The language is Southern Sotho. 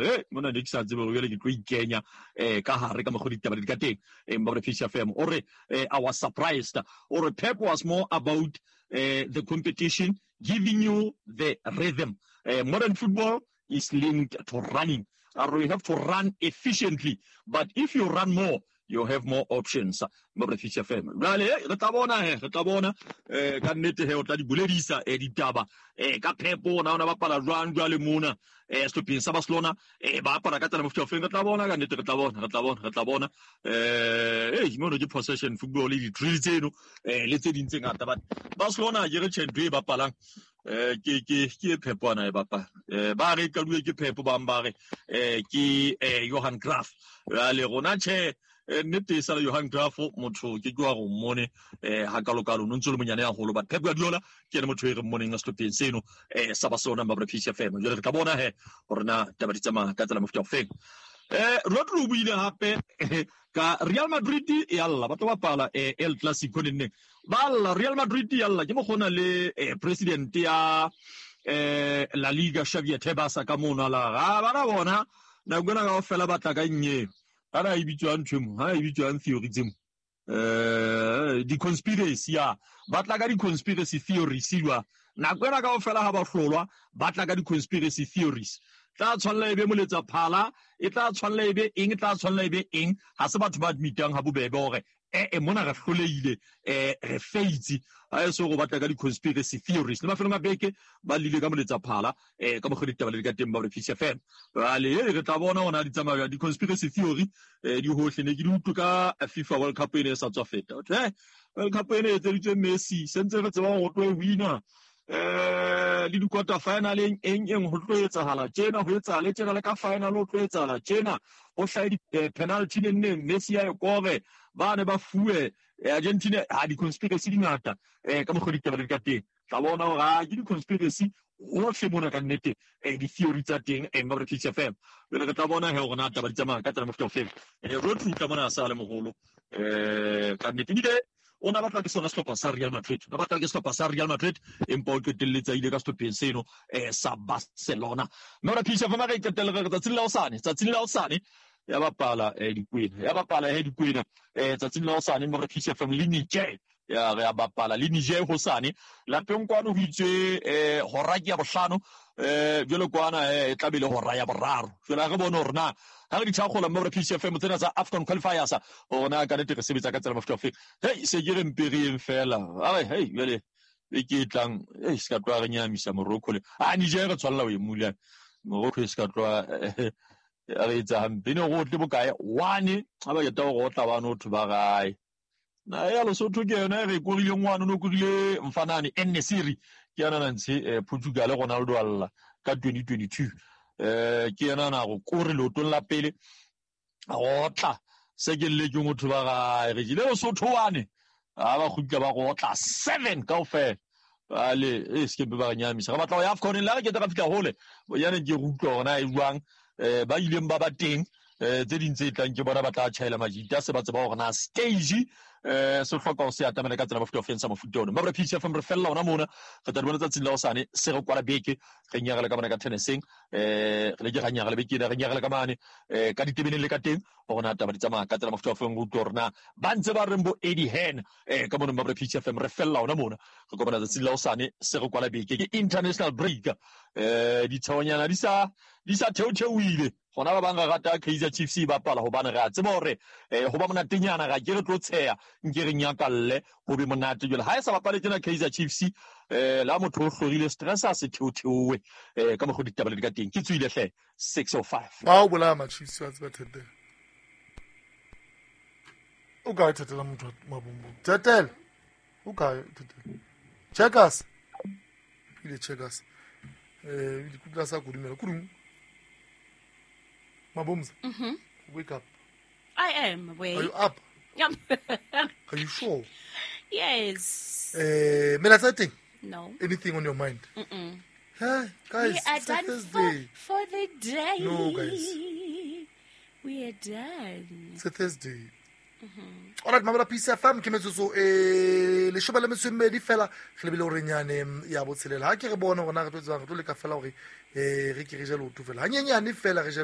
Hey, mona ne ke sa tsebe hore jwale ke tlo ikenya ka hare ka mokgwa ditaba di ka teng. Mma Peace FM o re I was surprised. O re Pep was more about the competition, giving you the rhythm. Modern football is linked to running. You have to run efficiently, but if you run more, you have more options. Mma Peace FM. Jwale re tla bona he, re tla bona ka nnete he o tla di boledisa ditaba ka Pep ona ona bapala jwang jwale mona sehlopheng sa Barcelona ba apara ka tsela mofuta ofeng. Re tla bona ka nnete, re tla bona, re tla bona, re tla bona. Mono ke possession football le di-drill tseno le tse ding tse ngata, but Barcelona ke re tjhe ntho e bapalang ke Pep ana e bapala. Ba re qaduwe ke Pep, bang ba re ke Johan Cruyff. Jwale rona tjhe nnete e sala Johan Cruyff, motho ke wa go mmone ha kalokalo no ntse le monyane haholo, but Pep Guardiola ke ene motho e re mmoneng sehlopheng seno sa Barcelona. Mma Peace FM. Jwale re tla bona he hore na taba di tsamaya ka tsela mofuta ofeng. Rodri o buile hape ka Real Madrid ya lla, ba tlo bapala El Clasico nenneng ba lla. Real Madrid ya lla ke mokgona le president ya La Liga Xavier Tebas ka mono la ga bana bona nako ena kaofela ba tla ka nnyeo ana e bitswang ntho emo ha e bitswang theory tsemo di-conspiracy ya ba tla ka di-conspiracy theories jwa nako ena kaofela ha ba hlolwa, ba tla ka di-conspiracy theories. Tla tshwanela e be moletsa phala, e tla tshwanela e be eng, e tla tshwanela e be eng. Ha se batho ba admitang ha bobebe hore mona re hlolehile, re feitse ha e se go batla ka di-conspiracy theories. Le mafelong a beke ba lile ka moletsa phala ka mokgwa ditaba le di ka teng ba re Peace FM. Jwale re tla bona hona di tsamaya di-conspiracy theory di hohle. Ne ke di utlwe ka FIFA World Cup ene e sa tswa feta. World Cup ene e etseditswe Messi, sentse re tseba hore o tlo e wina le di-quarter finaleng eng eng ho tlo etsahala tjena, ho etsahale tjena, le ka final ho tlo etsahala tjena, ho hlahe di-penalty nenneng Messi ya e kore, ba ne ba fuwe Argentina. Ha di-conspiracy di ngata ka mokgwa ditaba di ka teng. Tla bona hore ha ke di-conspiracy hohle mona ka nnete di-theory tsa teng Mma Peace FM. Jwale re tla bona he hore na taba di tsamaya ka tsela mofuta ofeng. Rodri tla mona a sa le moholo ka nnete, ebile o na batla ke sona sehlopha sa Real Madrid, o batla ke sehlopha sa Real Madrid, empa o qetelletse a ile ka sehlopheng seno sa Barcelona. Mme Peace FM re qetelle re tsatsing la hosane, tsatsing la hosane ya bapala dikwena, ya bapala he dikwena tsatsing la hosane. Mme Peace FM le Niger ya re ya bapala le Niger hosane lapeng kwano. Ho itswe hora ke ya bohlano jwale kwana e tla be le hora ya boraro. Jwale re bone hore na ha re di tshakgola mme Peace FM tsena tsa AFCON qualifiers hore na ka nnete re sebetsa ka tsela mofuta ofeng. Hey, se ke re mpe re yeng fela. Ai hey, jwale e ke tlang e se ka tloha re nyamisa Morocco le a Niger, re tshwanela ho e mula Morocco e se ka tloha re etsa hampe. Ne go tle bokae one ha ba keta go otla bano thwe ba gae na ya Lesotho ke yona re korile ngwana no korile mfanane En-Nesyri ke yena na ntshe Portugal Ronaldo alla ka 2022 ke yena na go kore leotong la pele go tla se ke le ke motho ba gae re jile Lesotho wane ha ba kgutla ba go otla 7 kaofela. Ale e se ke ba re nyamisa, re batla ho ya AFCON la re ke tla fihla hole bonyane ke re utlwa hore na e jwang ba ileng ba ba teng tse ding tse tlang ke bona ba tla tjhaela majita se ba tseba hore na stage se hloka ho se atamela ka tsela mofuta ofeng sa mofuta ona. Mma Peace FM re fella hona mona, re tla di bona tsatsing la hosane. Se re kwala beke re nyarela ka mona ka tenniseng re le ke ra nyarela beke ena, re nyarela ka mane ka ditebeneng le ka teng hore na taba di tsamaya ka tsela mofuta ofeng, re utlwe hore na ba ntse ba reng bo Eddie Hearn ka mona. Mma Peace FM re fella hona mona, re kopana tsatsing la hosane. Se re kwala beke ke international break ditshehonyana di sa theotheoile gona. Ba bang re rata Kaizer Chiefs e bapala hobane re a tseba hore ho ba monatenyana ra ke re tlo tsheha nke re nyakalle ho be monate. Jwale ha e sa bapale tjena Kaizer Chiefs la motho o hlorile stress a se theotheowe ka mokgwa ditaba le di ka teng. Ke tswile hle 6:05. Ba o bolaya ma-Chiefs wa tseba. Thetela o kae? Thetela motho wa mabombong, thetela o kae? Thetela checkers ile checkers dikutla sa kodumela kudung. Mabomza, wake up. I am awake. Are you up? Yep. Are you sure? Yes. Mela teng? No. Anything on your mind? Mm-mm. Hey, guys, We are it's a done Thursday. for the day. No, guys. We are done. It's a Thursday. Alright, mamela Peace FM ke metsotso e 12 fela re lebile gore nyane ya botshelela. Ha ke re bone gona re tlo tsebang re tlo leka fela gore re ke re je leoto fela hanyenyane fela re je.